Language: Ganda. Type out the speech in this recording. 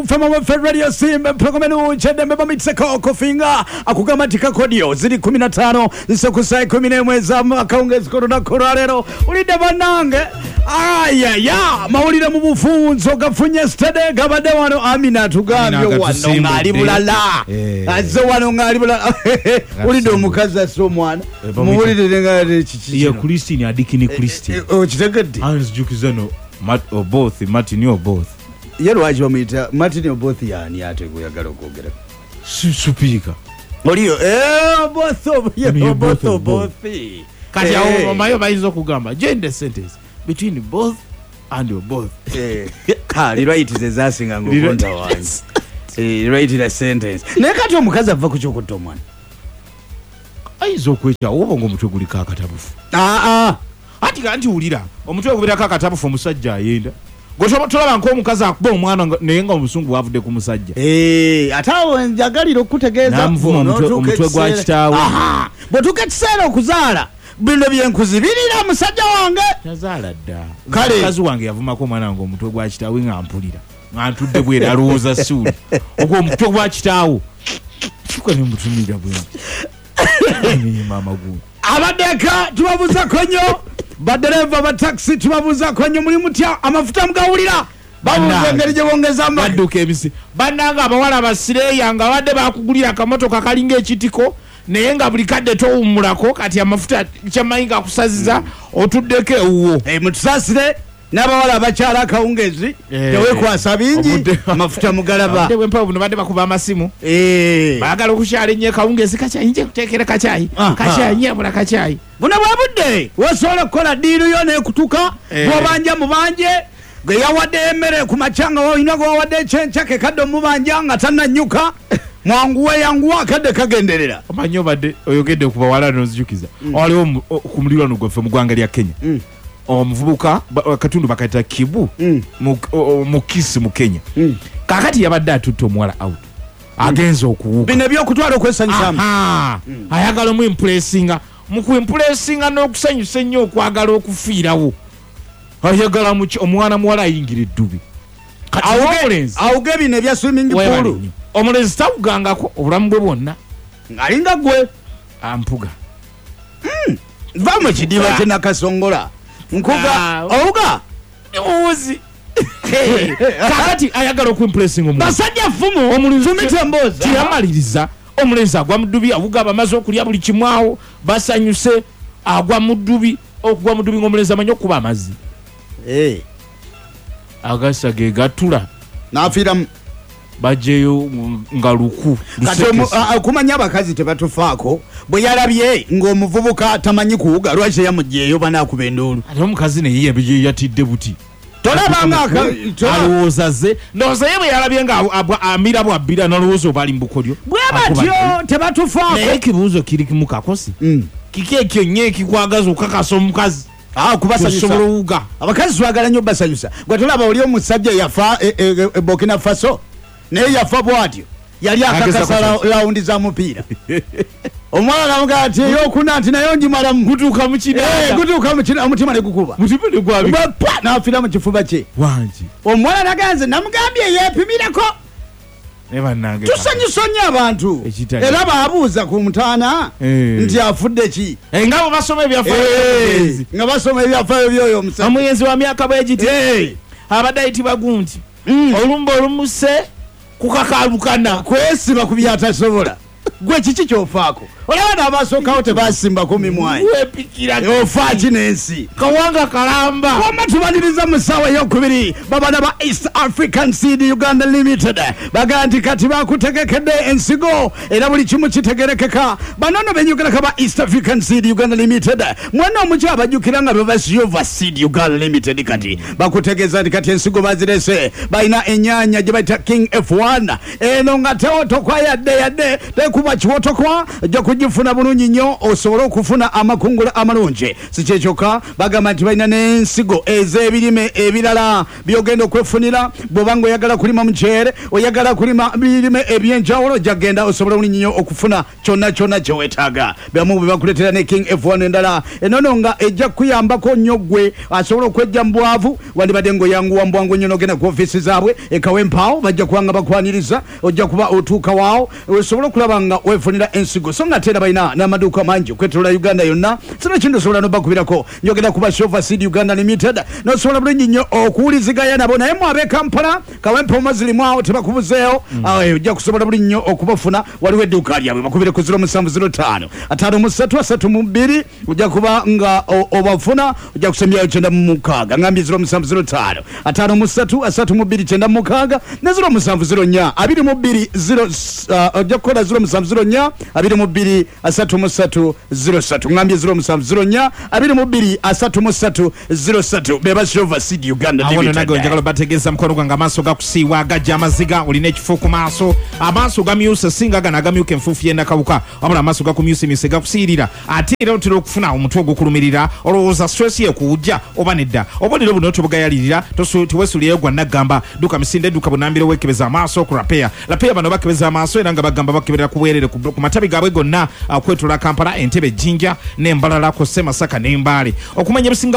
Fema waffe Radio Simba programu eky'eddembe bamitiseko okufinga akugamba nti kakodyo ziri 15 zisekusa 11 ez'akawungeezi k'olunaku olwaleero. Ulidde bannange, ayaya, mawulire mu bufunzo gafunye stede gabadde wano. Amina atugambye Amina wano agatusimbudde. ng'ali bulala. Azze wano ng'ali bulala. Ulidde omukazi asse omwana. Muwulirire nga kiki Ye kino. Christine Adikini Christine. Okitegedde? Anzijukiza no Oboth, Martin Oboth. Ye lwaki bamuyita Martin Oboth? Yani ate gweyagala okwogera Supiika. Oliyo Oboth. Ni Oboth. Oboth, Oboth. Kati awo omayo bayinza okugamba join the sentence between both and Oboth. Rewrite ze zasinga ngaokonta wange. Rewrite the sentence. Naye kati omukazi ava ku kyokutta omwana. Ayinza okwekyawo oba ngaomutwe guliko akatabufu. Aa. Anti ga nti wulira, omutwe gubeerako akatabufu, omusajja ayenda. Gwe tolaba nk'omukazi akuba omwana naye nga obusungu bwavudde ku musajja. Ate awo njagalira okutegeeza N'amuvuma omutwe gwa kitaawe. Bw'otuuka ekiseera okuzaala, bino byenkuzibirira musajja wange. Tazaala dda. Kale. Mukazi wange yavumako omwana wange omutwe gwa kitaawe nga mpulira nga ntudde bwera alowooza siwuli ogwo omutwe gwa kitaawo. Fuka ne mutunulira bwe maama gu. Abaddeka tubabuuzako nnyo, badereva ba takisi tubabuuzako nnyo. Muli mutya? Amafuta mugawulira? Babuuza Bannange. engeri gye bongezaamu. Badduka ebisi bannanga abawala basireeya nga badde bakugulira akamotoka kalinga ekitiko, naye nga buli kadde towummulako. Kati amafuta kyamanyi gakusaziza, otuddeko ewuwo. Mutusaasire n'abawala abakyala akawungezi. Tewekwasa bingi. Amafuta mugalaba. Obudde bw'empewo buno badde bakuba amasimu. Baagala okukyala ennyo ekawungezi, kakyayi nje kuteekera kakyayi. Kakyayi nyabula kakyayi. Buno bwe budde wosobola okukola ddiiru yo nekutuka. Bwobanja mubanje gwe yawadde emmere ku makya, nga olina gwe wawadde ekyenkya, ke kadde omubanja nga tannanyuka. Mwanguwe, yanguwa, akadde kagenderera. Omanyi obadde oyogedde ku bawala nonzijukiza, waliwo ku mulirwano gwaffe mu ggwanga lya Kenya omuvubuka akatundu bakayita Kibu mu Kisi mu Kenya. Kakati yabadde atutte omuwala out, agenze okuwuga. Bino ebyokutwala okwesanyusamu. Aha. Ayagala omuimpulesinga, mu kuimpulesinga n'okusanyusa ennyo, okwagala okufiirawo, ayagala omwana muwala ayingira eddubi. Kati omulenzi Awuge bino ebya swimming weebale pool. nnyo. Omulenzi tawugangako obulamu bwe bwonna. Ng'alinga gwe. Ampuga. Va mu kidiba kyenakasongola nkuga. Owuga. Muwuzi. Kakati ayagala okuimpulesinga omulenzi. Basajja ffumu. Omulenzi Fumita emboozi. Tiyamaliriza, omulenzi agwa mu ddubi, awuga. Bamaze okulya buli kimu awo, basanyuse, agwa mu ddubi. Okugwa mu ddubi ngaomulenzi amanyi okuba amazzi agasa ge gatula. N'afiiramu. Bajeyo nga luku Kati lusekese. okumanya abakazi tebatufaako, bwe yalabye ng'omuvubuka tamanyi kuwuga, lwaki teyamugyeyo banaakuba enduulu? Ate omukazi naye yatidde buti. Tolabanga Alowooza ze ndowooza ye bwe yalabye nga amira bwabbira, nalowooza oba ali mu bukodyo. Bwe batyo tebatufaako. Naye ekibuuzo kiri mu kakosi. Kiki ekyo nnyo ekikwagaza okukakasa omukazi Kubasanyusa. osobola owuga? Abakazi twagala nnyo basanyusa. Gwe tolaba oli omusajja yafa e Burkina Faso, naye yafa bwatyo, yali akakasa Ageza lawundi za mupiira. Omwana namugaa nti eyokuna nti naye ngimalamu. Gutuuka mu kinaana. Gutuuka mu kinaana, omutima ne gukuba. Mutima ne gwabika. Bwe pa, n'afiira mu kifuba kye. Wangi. Omuwala naganze namugambye yeepimirako. Naye bannange, Tusanyusa nnyo abantu. Ekitali. Era baabuuza ku mutaana nti afudde ki? Nga bwe basoma ebyafaayo by'omugenzi. Nga basoma ebyafaayo by'oyo omusajja. Omugenzi wa myaka bwegiti abadde ayitibwa gunti, olumba olumuse kukakalukana. Kwesiba ku byatasobola. Gwe kiki kyofaako? Olaba n'abasookawo tebasimbako mimwayi. Wepikira. Ofa ki n'ensi? Kawanga kalamba. Wama tubaniriza mu ssaawa eyokubiri babana ba East African Seed Uganda Limited. Bagaa nti kati bakutegekedde ensigo era buli kimu kitegerekeka. Banono benyogerako ba East African Seed Uganda Limited, mwana omuky abajjukira nga bebasiova Seed Uganda Limited, kati bakutegeeza nti kati ensigo bazirese. Balina enyaanya gye bayita King F1, eno nga tewo tokwayadde yadde tekuba. Shova Kiwotokwa, ojja kugifuna bulungi nnyo osobole okufuna amakungula amalungi. Si kyekyokka, bagamba nti balina n'ensigo ez'ebirime ebirala byogenda okwefunira. Bw'oba nga oyagala kulima muceere, oyagala kulima birime ebyenjawulo, ojja kugenda osobole bulungi nnyo okufuna kyonna kyonna kyeweetaaga. Byamu bwe bakuleetera ne King F1 endala enono nga ejja kukuyambako nnyo ggwe asobola okwejja mu bwavu. Wandibadde ng'oyanguwa mu bwangu nnyo n'ogenda ku ofiisi zaabwe ekawempaawo, bajja kuba nga bakwaniriza, ojja kuba otuuka waawo osobole okulaba nga weefunira ensigo. So nga ate era balina n'amaduuka mangi okwetolola Uganda yonna. Sino kintu osobola nobakubirako, njogera kuba Shova Seed Uganda Limited, nosobola bulungi nnyo okuwuliziganya nabo. Naye mwe ab'e Kampala, Kawempe Omazirimu awo tebakubuzeewo, ojja kusobola bulungi nnyo okubafuna. Waliwo edduuka lyabwe, bakubire ku 0705 53 32, ojja kuba nga obafuna, ojja kusembyayo 96. Ngambye 0705 53 32 96 ne 0704 22 0, ojja kukola 0704 22 33 03. Ngambye 0704 22 33 03, beba Shova Seed Uganda Awo Limited. Nage njagala bategeeza, mukono gwange, amaaso gakusiiwa, agajja amaziga, olina ekifo ku maaso, amaaso gamyuse, singa gano agamyuka enfuufu yenakawuka, wabula amaaso gakumyusemyuse, gakusiirira. Ate era otera okufuna omutwe ogukulumirira, olowooza stress yekuwujja oba nedda? Obubonero buno tobugayalirira, teweesuulirayo gwa naggamba. Dduka misinde, dduka bunambiro, weekebeza amaaso ku Rapeya. Rapeya bano bakebeza amaaso era nga bagamba bakeberera ku bwerere ku matabi gaabwe gonna okwetooloola Kampala, Entebe, Jjinja n'Embalala, kw'ossa Masaka n'Embaale. Okumanya ebisingawo.